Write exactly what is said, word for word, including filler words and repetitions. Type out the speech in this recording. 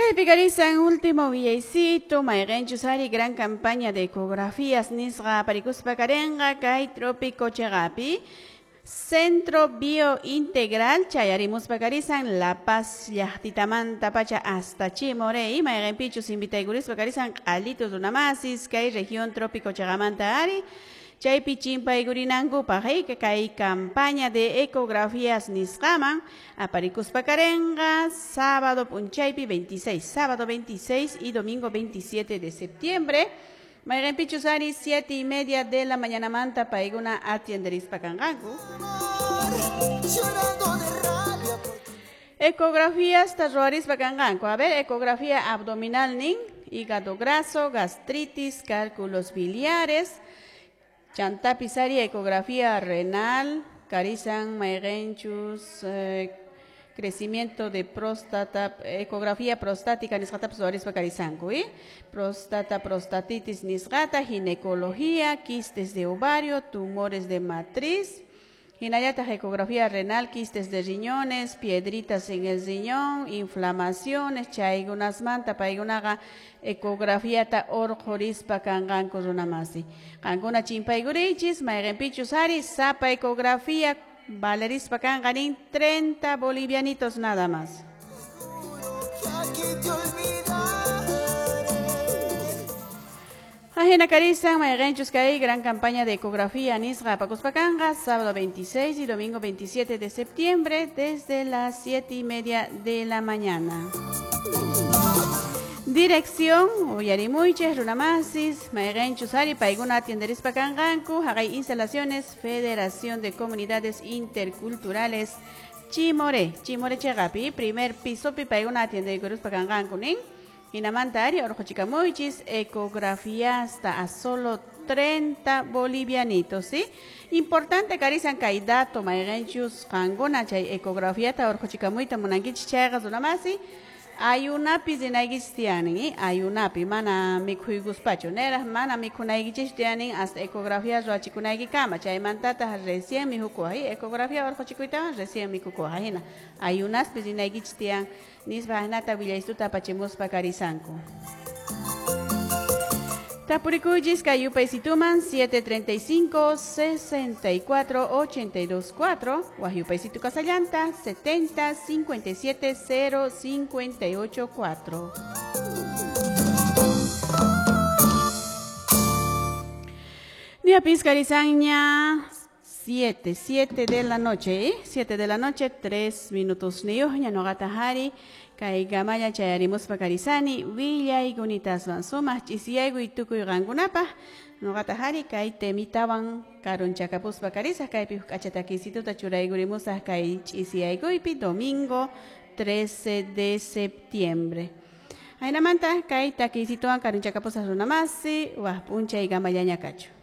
Chaypi karisan último willaycito, mayqinchus ari gran campaña de ecografías nisqa aparikuspa karenqa kay trópico chaqapi Centro Biointegral chayarimuspa karisan La Paz llaqtitamanta pacha hasta Chimoré mayqinpichus invitaykurispa karisan q'alitus runamasis kay región trópico chaqamanta ari chaypi chimpaykurinankupaq kay campaña de ecografías nisqaman aparikuspa karenqa sábado p'unchaypi veintiséis, sábado veintiséis y domingo veintisiete de septiembre. Mayqinpichus ari siete y media de la mañana manta paykuna atienderispa kanqanku. Ecografías ruwarispa kanqanku. A ver, ecografía abdominal nin, hígado graso, gastritis, cálculos biliares, chantapis ari ecografía renal, karisan mayqinchus, eh, crecimiento de próstata, ecografía prostática nisqatapas ruwarispa karisanku, ¿eh? Próstata, prostatitis nisqata, ginecología, quistes de ovario, tumores de matriz, hinallataq ecografía renal, quistes de riñones, piedritas en el riñón, inflamaciones, chaykunasmanta paykunaqa ecografiata urqurispa kanqanku runamasi. Qankuna chimpaykurichis, mayqinpichus ari sapa ecografía valerispa kanqa nin treinta bolivianitos nada más. Ajena karisan mayqinchus kay gran campaña de ecografía nisqa apakuspa kanqa sábado veintiséis y domingo veintisiete de septiembre desde las siete y media de la mañana. Dirección uyarimuychis runamasis mayqinchus ari paykuna atienderispa kanqanku haqay instalaciones Federación de Comunidades Interculturales Chimoré, Chimoré chaqapi primer pisopi paykuna atienderikurispa kanqanku nin. Hinamanta ari urquchikamuychis ecografía hasta a solo treinta bolivianitos, ¿sí? Importante karisan kay dato mayqinchus qankuna chay ecografiata urquchikamuyta munankichis chayqa runamasi ayunapi rinaykichis tiyanin, ¿eh? Ayunapi mana mikhuykuspachu neraq mana mikhunaykichis tiyanin hasta ecografía ruwachikunaykikama chaymantataq recién mikhukuwaq, ¿eh? Ecografía urquchikuytawan recién mikhukuwaq hina ayunaspi rinaykichis tiyan nispa hinata willaystuta apachimuspa karisanku. Tapurikuychis kay yupaysituman siete treinta y cinco, sesenta y cuatro, ochenta y dos, cuatro, waj yupaysitu kasallanta setenta, cincuenta y siete, cero, cincuenta y ocho, cuatro. Día karisanña siete, siete de la noche, ¿eh? siete de la noche, tres minutos niyuqña nuqata hari kay gamalla chayarimuspa karisani willaykunataswan sumaq ch'isiyaykuy tukuy qankunapaq nuqata hari kay temitawan karunchakapuspa karisaq kaypi huk k'acha takisituta churaykurimusaq kay ch'isiyaykuypi domingo trece de septiembre. Aynamanta kay takisituwan karunchakapusaq runamasi waq p'unchay gamallaña kachu.